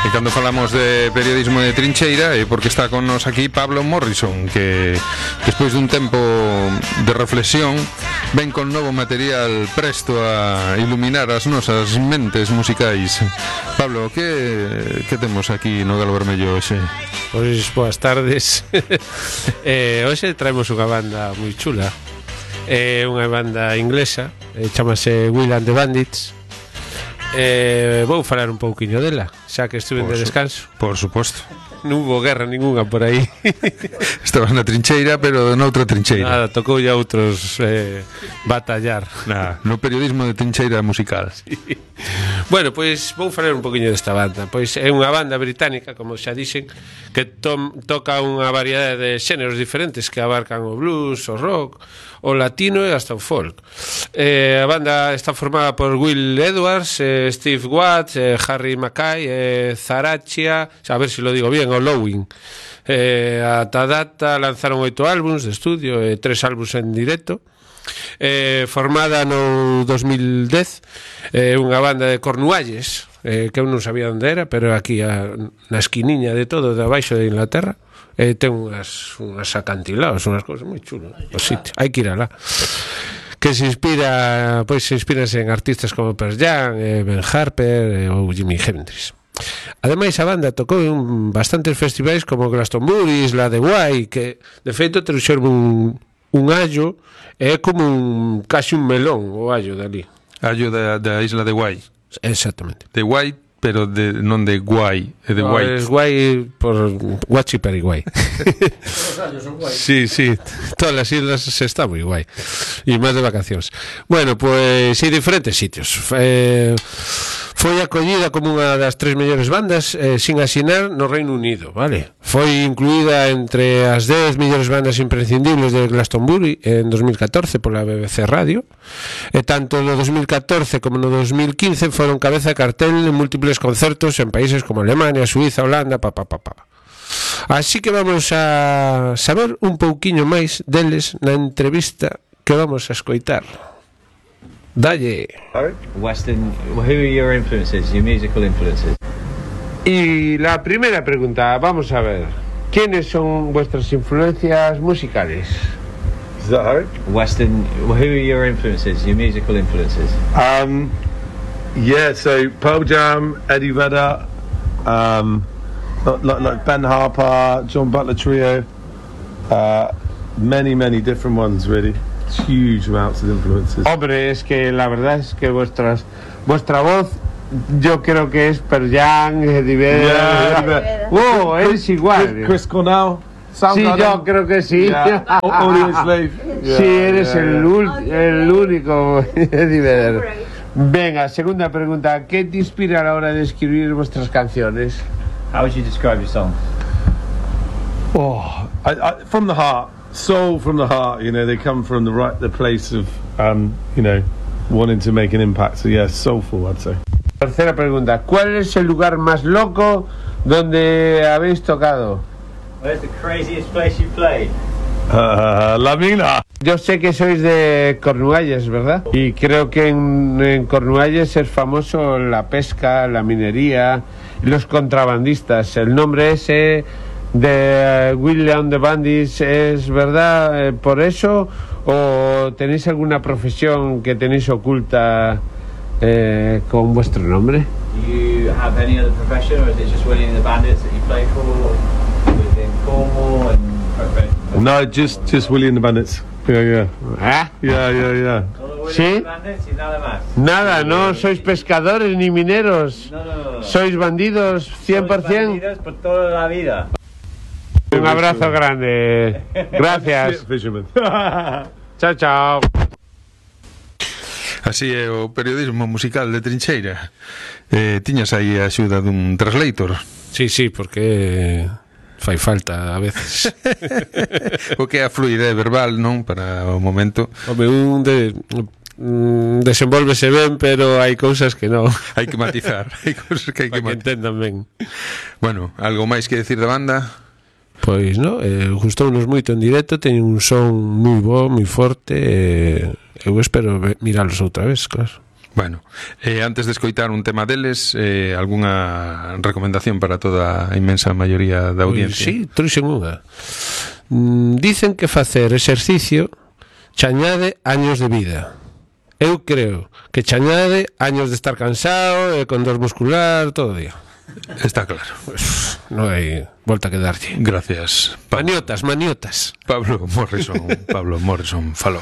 E cando falamos de periodismo de trincheira é porque está con nos aquí Pablo Morrison, que despois dun tempo de reflexión ven con novo material presto a iluminar as nosas mentes musicais. Pablo, que temos aquí no Galo Vermello hoxe? Pois boas tardes. Hoxe traemos unha banda moi chula. É unha banda inglesa, chamase Will and the Bandits. Vou falar un pouquiño dela, xa que estuve de descanso. Por suposto. Non hubo guerra ninguna por aí. Estabas na trincheira, pero noutra trincheira. Nada, tocou ya outros batallar. No periodismo de trincheira musical. Sí. Bueno, pois vou falar un poquinho desta banda. Pois é unha banda británica, como xa dixen, que toca unha variedade de xéneros diferentes que abarcan o blues, o rock, o latino e hasta o folk. A banda está formada por Will Edwards, Steve Watts, Harry Mackay, Zarachia, a ver se lo digo bien, o Lowing. Ata data lanzaron 8 álbums de estudio e 3 álbums en directo. Formada no 2010, unha banda de Cornualles, que eu non sabía onde era, pero aquí na esquiniña de todo, de abaixo de Inglaterra. Ten unhas acantilados, unhas cousas moi chulas. Hai que ir alá. Que se inspira, pois se inspirase en artistas como Pearl Jam, Ben Harper ou Jimi Hendrix. Ademais, a banda tocou en bastantes festivais como Glastonbury, Isla de Guai, que de feito trouxeron un allo, é como casi un melón o allo dali. Allo da Isla de Guai. Exactamente. De Guai, pero non de Guai, é de Guai. Es Guai por Guachi Periguai. Os años son guai. Sí, todas as islas se está moi guai. E máis de vacacións. Bueno, pois hai diferentes sitios. Foi acollida como unha das 3 mellores bandas sin asinar no Reino Unido, vale? Foi incluída entre as 10 mellores bandas imprescindibles de Glastonbury en 2014 pola BBC Radio, e tanto no 2014 como no 2015 foron cabeza de cartel en múltiples concertos en países como Alemania, Suiza, Holanda, Así que vamos a saber un pouquiño máis deles na entrevista que vamos a escoitar. Dalle. Western, who are your influences, your musical influences? Y la primera pregunta, vamos a ver, ¿quiénes son vuestras influencias musicales? Is that Harry? Western, who are your influences, your musical influences? Yeah, so Pearl Jam, Eddie Vedder, like Ben Harper, John Butler Trio, many different ones really. Huge amounts of influences. Hombre, es que la verdad es que vuestra voz, yo creo que es Pearl Jam, Eddie Vedder. Es igual. Chris Cornell. Sí, yo creo que sí. Yeah. Audio Slave. Yeah, sí, eres el único Eddie Vedder. Venga, segunda pregunta. ¿Qué te inspira a la hora de escribir vuestras canciones? How would you describe your song? From the heart. Soul from the heart, you know, they come from the place of, you know, wanting to make an impact. So yeah, soulful, I'd say. Tercera pregunta, ¿cuál es el lugar más loco donde habéis tocado? Where's the craziest place you played? La Mina. Yo sé que sois de Cornualles, ¿verdad? Y creo que en Cornualles es famoso la pesca, la minería, los contrabandistas. El nombre ese de Will and the Bandits, ¿es verdad por eso o tenéis alguna profesión que tenéis oculta con vuestro nombre? Do you have any other profession, or is it just Willie and the Bandits that you play for within Cornwall and? No, just Willie and the Bandits. Yeah. Yeah. ¿Sí? Bandits y nada más. Nada, no sois pescadores ni mineros. No. Sois bandidos 100%. Sois bandidos por toda la vida. Un abrazo grande. Gracias. Fisherman. Chao. Así é o periodismo musical de trincheira. Tiñas aí a axuda dun translator. Sí, porque fai falta a veces. O que é a fluidez verbal, non? Para o momento. Home, desenvolvese ben, pero hai cousas que non. Hai que matizar. Hai cousas que hai que matizar. Que entendan ben. Bueno, algo máis que decir da banda? Pois non, gustounos moito en directo, teñen un son moi bo, moi forte, eu espero miralos outra vez, claro. Bueno, antes de escoitar un tema deles, algunha recomendación para toda a inmensa maioría da audiencia? Sí, trouxen unha. Dicen que facer exercicio chañade años de vida. Eu creo que chañade años de estar cansado e con dor muscular todo o día. Está claro. Pues, non hai volta que darlle. Gracias. Maniotas. Pablo Morrison falou.